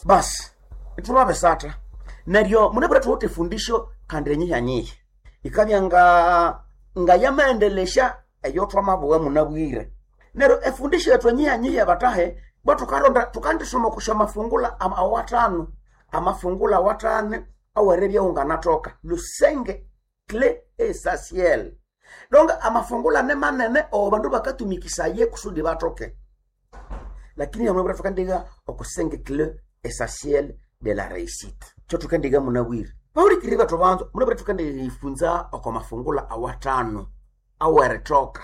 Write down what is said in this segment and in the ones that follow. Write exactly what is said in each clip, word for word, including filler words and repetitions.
Basi ithwababisatha neryo munabwire thuwithe efundisho kandi enyihanyiha ikabya nga ngayamaendelesya eyo thwamabugha munabwire. Neryo efundisho yethu enyihanyiha batahe bwa thukalonda thukandisoma okusya mafungula awathanu, amafungula awathanu aweribya wanganathoka lusenge clé essentiel. Donc amafungula ni manene owo bandu bakatumikisaya kusudi bathoke, lakini hamabwira thukandiga okusenge clé essentiel de la réussite. Kyo thukandiga munabwire bahulikiriri bethu banza munabwire thukandiyifunza oko mafungula awathanu awerithoka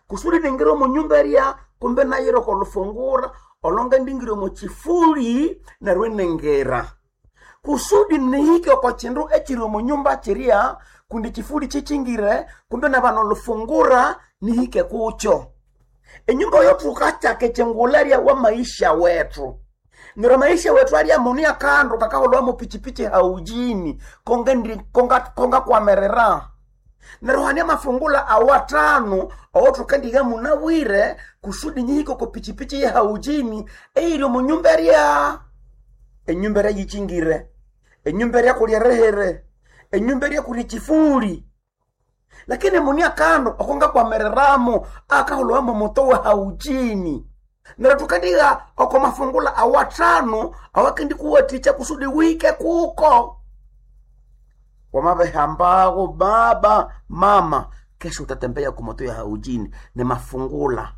kusudi ningira omo nyumba erya kumbe nayira oko lufungura olonga ndingire omo kifuli neryo iningira kusudi nihike oko kindu ekiri omo nyumba kirya kundi kifuli kikyingire kumbe nabana olufungura nihike kukyo. Enyumba eyo thukakyaka ekyengulha erya wa maisha wethu. Neryo amaisha wethu alya munu akandu kakaholwa pichipichi haujini konga konga kongakwamirira. Neryo hane amafungula awathanu awathukandiha munabwire kusudi nyihike oko pichipichi ye haujini eyiri omo nyumba erya. Enyumba erya yikyingire, enyumba erya kuli erihere, enyumba erya kuli ekifuli. Lakini muni akandu okongakwamiriramu akaholwamu muto wa haujini. Neryo thukandiha oko mafungula awathanu awakendikuwathikya kusudi wihike kuko. Wamabihambagho baba mama, kesho utatembea kumoto ya haujini ni mafungula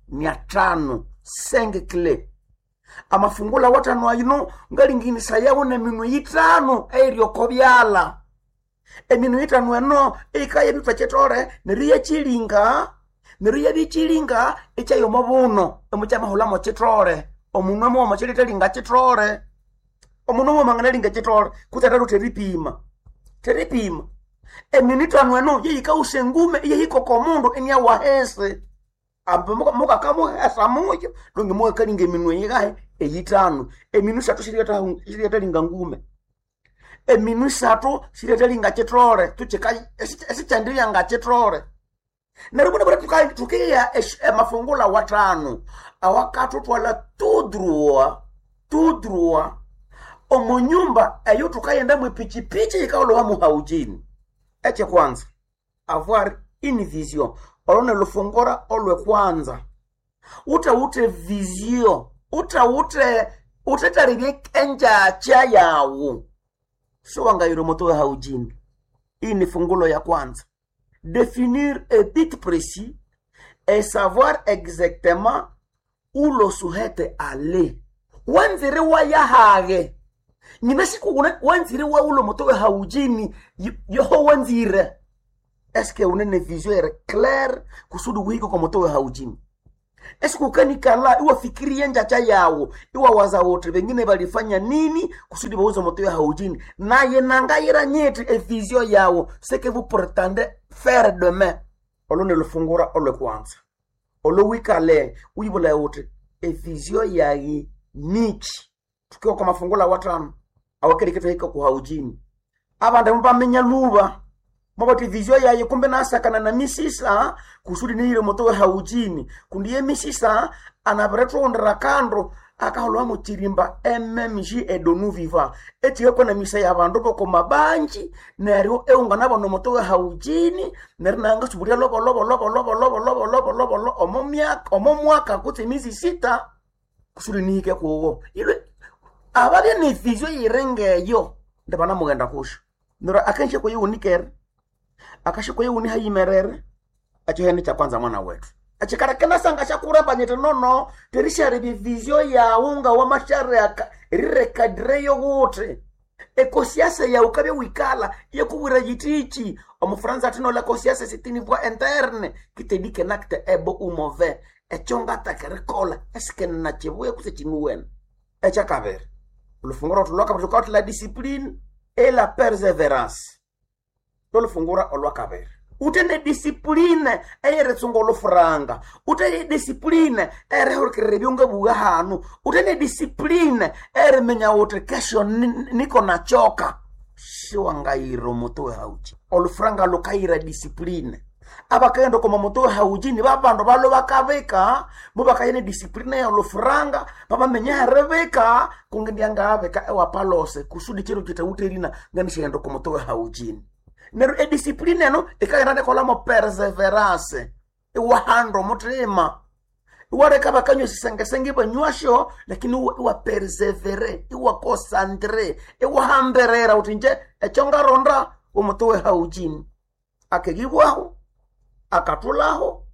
ni athanu senge clé. Amafungula awathanu ayino ngalinginisaya neminwe yithanu eyiri oko byalha. Eminwe ithanu eno eyikaya ebithwa kyithole neryo iyakyilinga neryo iyabikyilinga ikyaya omo buno imukyamahulha kyithole. Omunwe mughuma kyilithalinga kyithole. Omunwe mughuma anganalinga kyithole kutse athalutha eripima, theripima. Eminwe ithanu eno yeyikawusa engume iyahika oko mundu iniawa ahisi. Ambi mukakamuhesa muyo donge mukakalinga eminwe eyingahi eyithanu. Eminwe isathu siriyathalinga ngume, eminwe isathu siriyathalinga kyithole thukyika esikyandibya nga kyithole. Neryo munabwire thukigha amafungula awathanu awakathuthwalha tout droit tout droit omo nyumba eyo thukaghendamu epichipichi yikaholwamu haujini. Ekyekwanza avoir une vision, olo nilufungura olwekwanza. Wuthawuthe vision, wuthawuthe wuthethalebye engyakya yawu siwangayira omoto wa haujini. Iyi ni fungulo ya kwanza. Définir un but précis et savoir exactement où l'on souhaite aller. Wanzire wayahage nyina siku wanzire wawulo moto wa haujini yoho wanzire. Eske unene vision ere claire kusudi wihike kwa moto wa haujini? Eske ukanikala iwafikirie njacha yawo iwawaza wote wengine balifanya nini kusudi bauze moto ya haujini naye nangayira nyeti e vision yawo ce que vous prétendez faire demain. Olo nilufungura olwekwanza olo wikale uyibula wote e vision yayi nichi. Tukiwa kwa mafungula watano awakereketwa hika ku haujini abandi mubaminya luba mabati vision yayi kumbe nasakana na misisa kusudi niyire moto wa haujini kundi ye misisa anabirethughundira kando akaholwa muchirimba M M G edonu viva echikakwa na misa ya bandu boko mabanji neryo eungana bono moto wa haujini neryo nanga suburia lobo lobo lobo lobo lobo lobo lobo lobo lobo omo myaka omo mwaka kutse mizi sita kusudi nihike kuwo ilwe ababye ni vision yirengeyo ndibana mugenda kusho neryo akenshe kuyiwunikere akashe kuyiwuni hayimerere ekyo ni kya kwanza mwana wetu ekikalekena sanga syakurambanyete nono terisyarebya vision yawu nga wamasyareka erirekadireyo wuthi ekosiasa yawu kabya wikala yekubwira yithiki omufuranza athi nola kosiasa c'est une voie interne qui te dit qu'un acte est bon ou mauvais ekyo ngataka erikolha esike nakibuya kutse kinuwene. Ekyakabiri olufungura olwakabiri lukawithe la discipline et la persévérance. Lolufungura olwakabiri uthe ne discipline eyeritsunga olufuranga, uthe ne discipline eyerihulukirira ebyongabuwa hanu, uthe ne discipline eyeriminya wuthi kesho niko nachoka. Siwangayira omuti wehauki olufuranga lukayira discipline. Abakaghenda oko mamoto haujini babandu balo bakabika mubakaya ne discipline ya olufuranga babamenya heribika kungendya ngabika ewapalose kusudi chiro kitawuterina nganishaghenda oko moto haujini. Neryo ediscipline eno ikaghenda nekolamo perseverance iwahanda omuthima iwareka bakanywa esisengesenge ibanywasyo lakini iwa persevere iwa concentre iwahamberera uthi nje ekyo ngaronda omuti wehaujini akegibwaho akathulaho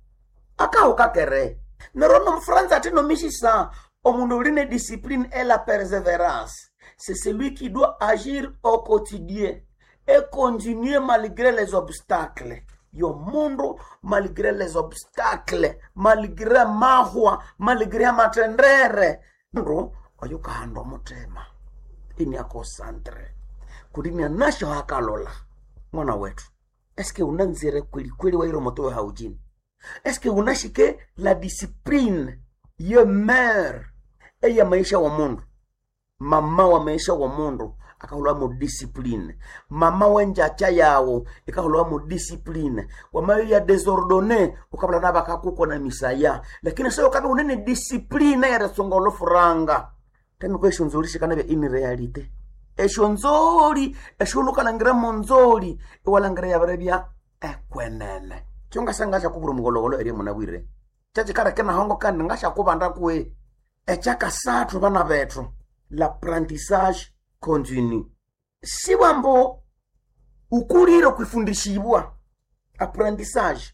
akahuka kere. Neryo nomufranza ati nomishisa omundu uli ne discipline et la persévérance c'est celui qui doit agir au quotidien et continuer malgré les obstacles. Yo mundu malgré les obstacles, malgré mahwa, malgré amatendere mundu oyo kahanda omuthima ini akosantre kulimya nasho hakalola mwana wetu eske unanzire kweli kweli wairo moto wa haujini eske unashike la discipline ye mer eya maisha wa mundu mama wa maisha wa mundu akahulwa mu discipline mama wenjacha yawo ikahulwa mu discipline wamayo ya desordonné ukabula nabakakukwa na misaya lakini sayo kabe unene discipline yarisonga olufuranga temi esyo nzoli shikanabya in realite esyo nzoli esyolukalangira monzoli iwalangira yabirebya ekwenene kyo ngasanga syakubura omugologolo erye munabwire kyakikaleka nahongo kandi ngashyakubanda kwe ekyakasathu bana bethu l'apprentissage continu sibwambo ukulire okwifundishibwa apprentissage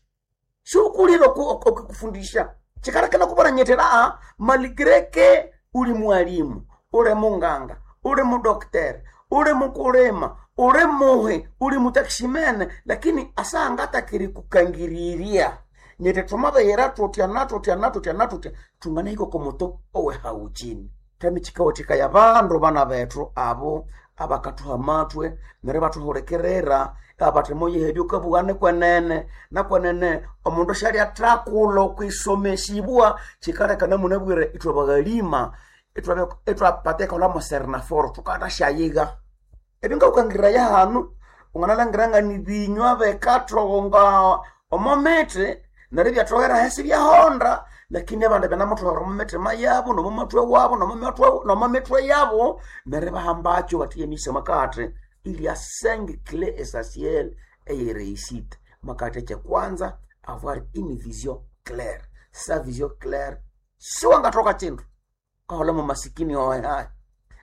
siukulire okufundisha chikalekena kubona a malgré que uli mwalimu uli munganga uli mudoktere uli mukulima uli muhi uli mutakishimene lakini asangatakiri kukangiriria nyete twamabeyera tutya natutya natutya natutya tunganahika komoto owehauchini tamichikawathikaya bandu bana bethu abo abakathuha amatwe neryo ibathuhulikirira abathi muyihe ukabugha kwenene nakwenene omundu syalyathakula okwisomesibwa kikaleka munabwire ithwe baghalima ithwapata erikolha serinaforo thukanasyayiga ebingawukangiraya hanu wanganalhangira ngani binywa bikathoghonga omo mithi neryo ibyathoghera ahisi ibyahonda lakini abandi banamuthowera omo mithima yabo nomo mathwe wabo nomo mithwe yabo neryo ibahambakyo bathi emisa makathi il y a cinq clés essentielles eye réussite makathi ekyekwanza avoir une vision claire sa vision claire siwangathoka kindu kahola mu masikini owe hayi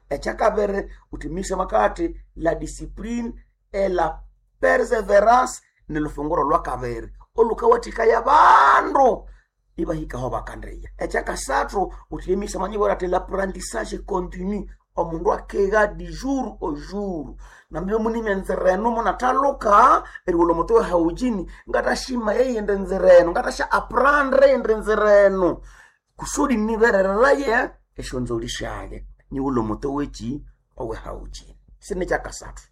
ekyakabiri uthi makathi la discipline et la persévérance ni lufunguro lwakabiri olukawathikaya bandu ibahikaho bakandiya ekyakasathu uthi emisa manyibwira ati l'apprentissage continu omundu akegha du jour au jour nambio munimya enzira eno munathaluka erighulha omuti wehaujini ngatashima eyindi nzira eno ngatasha aprendre eyindi nzira eno kusudi niberereraye esyonzoli syaye nighulha omuti weki owehaujini sini kyakasathu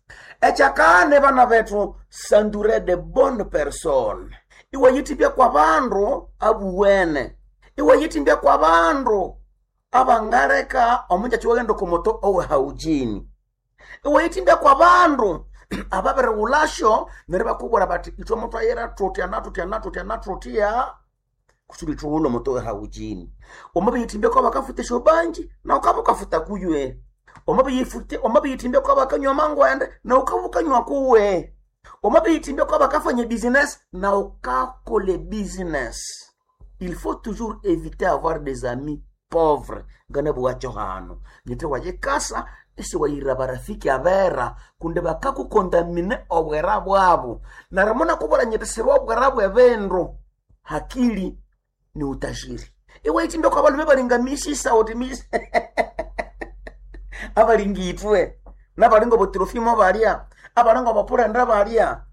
ekyakane bana bethu s'entourer de bonnes personnes iwayithimbya kwa bandu abuwene iwayithimbya kwa bandu abangaleka omunjakyi waghenda okomoto owehaujini iwayithimbya kwa bandu ababirighulhasyo neryo ibakubwira bathi ithwe muthwayira thutya nathutya nathutya nathutya kusudi thughulhe omuto wehaujini wamabiyithimbya kwa bakafuta esyobanji nawu ukabya wukafuta kuywe wamabiyithimbya kwa bakanywa amangwende nawu ukabya wukanywa kuwe wamabiyithimbya kwa bakafanya business nawu ukakola business. Il faut toujours éviter avoir des amis pauvres nganabugha hano nyithe wayikasa isiwayira barafiki abera kundi bakakukondamine obwera bwabu neryo munakubwira nyithi siba obwera bwebindu hakili ni utajiri iwayithimbya kwa balume balinga misisa uthi misi abalinga ithwe nabalinga obotrofimo balya abalinga obopulenda balya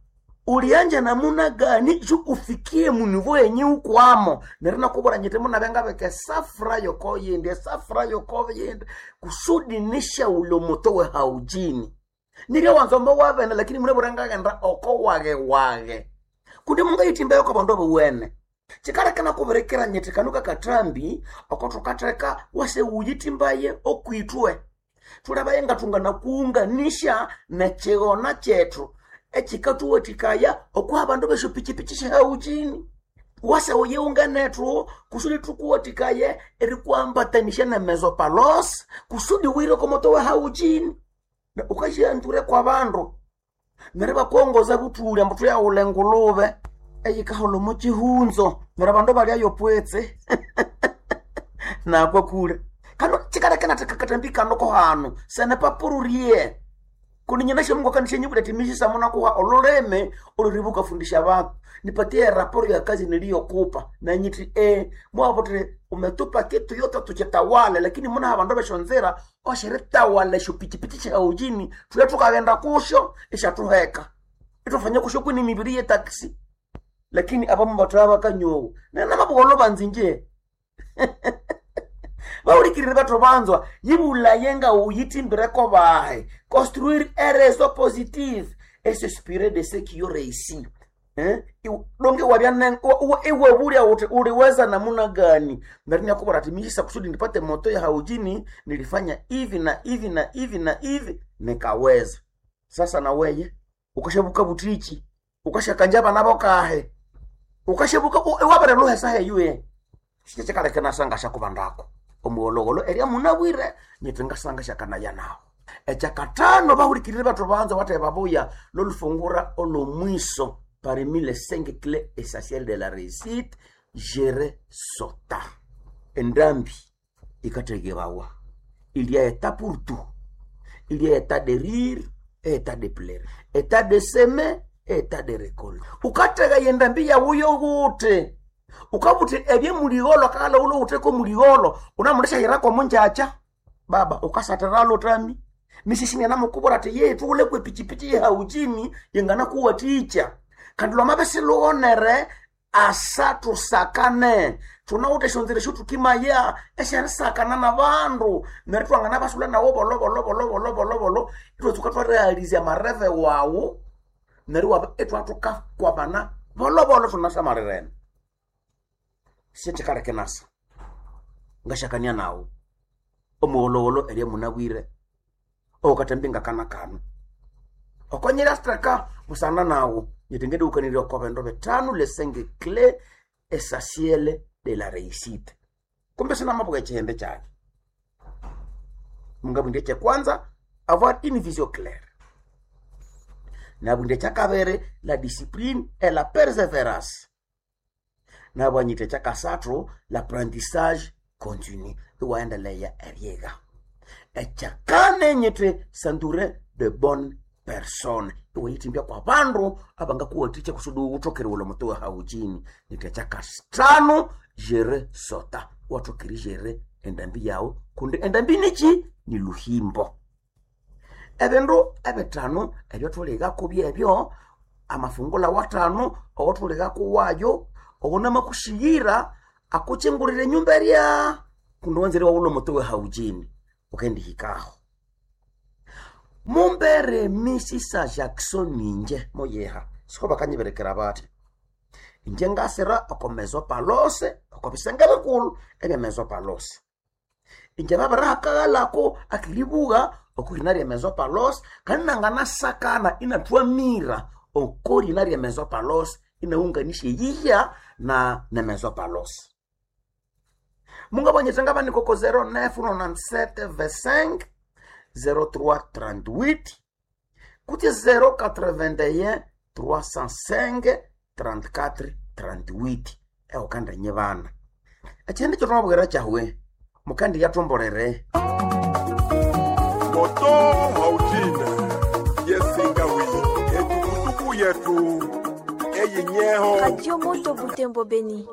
ulianja namuna gani ju ufikie munivo yenye ukwamo neryo nakubwira nyiti munabe ngabeka esafura yokoyindi esafura yokoyindi kusudi nishaula omuto wehaujini niryo wanza ombo wabene lakini munabwira ngaghenda oko wage wage kundi mungayithimbayo kwa bandu abuwene kikaleka nakubirikira nyiti kanu kakathambi oko thukatheka wase wuyithimbaye okwithwe thulabaye ngathunganakuunganisha nekighona kyethu Ekikathuwathikaya okuha abandu besyopichipichi syahaujini wase uyiunganethu kusudi thukuwathikaye erikwambatanisya nemezo palos kusudi wire okomoto wa haujini. Ukasyanzure kwa bandu neryo bakuongoza buthuli ambu thuyaghulha engulube eyikaholha omo kihunzo neryo abandu balyayo pwetse nakwa kule kano chikaleka katambi kano kohano sene papururie kundi nyina Mungu akanishenyibula ati mishisa muna kuha oluleme oluribuka fundisha abantu nipatie raporo ya kazi niliyokupa na nyiti eh mwavotire umetupa kitu yote tuchitawale, lakini muna abandu beshonzera oshiritawale esyo pichipichi sya ujini tuya tukaghenda kusho ishatuheka itufanya kusho kwini mibiri ye taxi, lakini abamu bathu bakanyowo nena mabugholo banzinje baulikirire batho banzwa yibulaye nga uyitimbireko bahe construire un réseau positif et s'inspirer de ceux qui ont réussi. Eh? Donge wabya iwe bulya uti uliweza namuna gani neryo nyakubora ati mishisa kusudi nipate moto ya haujini nilifanya hivi na hivi na hivi na hivi nikaweza. Sasa na weye ukashabuka butichi ukashakanja bana bokahe ukashabuka wabere luhesa heyuye shichikaleke nasanga shakubandako omuwolowolo eria munabwire nyiti ngasanga shakanaya nawo. Ekyakatano bahulikirire bathu banza bathe babuya lolufungura olomwiso parmi les cinq clés essentielles de la réussite, gérer sota endambi ikategebawa. Il y a état pour tout, il y a état de rire et état de pleurer, état de semer et état de récolte. Ukatega yendambi yawuyo gute ukabuthi ebye muligholo kakala ulo utheko muligholo unamulishahirako munjacha baba ukasatiralo tami misisinya namukubura ati ye tuulekwe pichipichi yehaujini yenganakuwaticha kandi lwamabe silughonere asa tusakane thunawuthe esyonzira esyothukimaya esyarisakana nabandu neryo thwanganabasula nawo bolobolobolobolobolobolo ithwatsuka thwarealizya amareve wawu neryo iwabya ithwathukakwamana bolobolo thunasamarirene. Syekikaleka nasa ngashakania nawu omuwolowolo eria munabwire okatambi ngakana kano okonyera straka busana nawu nyitingediukanirya oko bindu bitano les cinq clés essentielles de la réussite. Kumbe sinamabuka ekihembe kyaki mungabwindia ekyekwanza avoir une vision claire, nabwindia ekyakabiri la discipline et la persévérance, nabwanyitha ekyakasathu l'apprentissage continu iwaendeleya eryigha, ekyakane nyithi s'entourer de bonnes personnes iwayithimbya kwa bandu abangakuwathikya kusudi wuthokeriwulha omuti wa haujini, nyithi ekyakasithanu jere sota iwathokeri jere endambi yawu kundi endambi niki ni luhimbo. Ebindu ebithanu ebyothulighako byebyo amafungula wathanu owathulighako wayo owunamakushiyira akuchingulira enyumba erya kundi wanzire wawulha omuti we haujini ukendihikaho. Mumbere misisa Jackson inje moyeha siko bakanyiberekera bathi inje ngasira oko mezo palose oko bisenge bikulu ebya mezo palose inje babirihakaghalako akiribuga okurina rya mezo palose kandi nanganasakana inathwamira okorina rya mezo palose inaunganisha eyihya na nemezo palose. Mungabonyetha ngabanikoko zero nine nonante-sept vingt-cinq zéro trois trente-huit kuti zéro quatre-vingt-un trois cent cinq trente-quatre trente-huit eukandanye bana ekyindi kyotwamabwira kyahwe mukandi yathombolere moto haujina yesingawi etukutuku yetu eyinyeho Radio Moto Butembo Beni.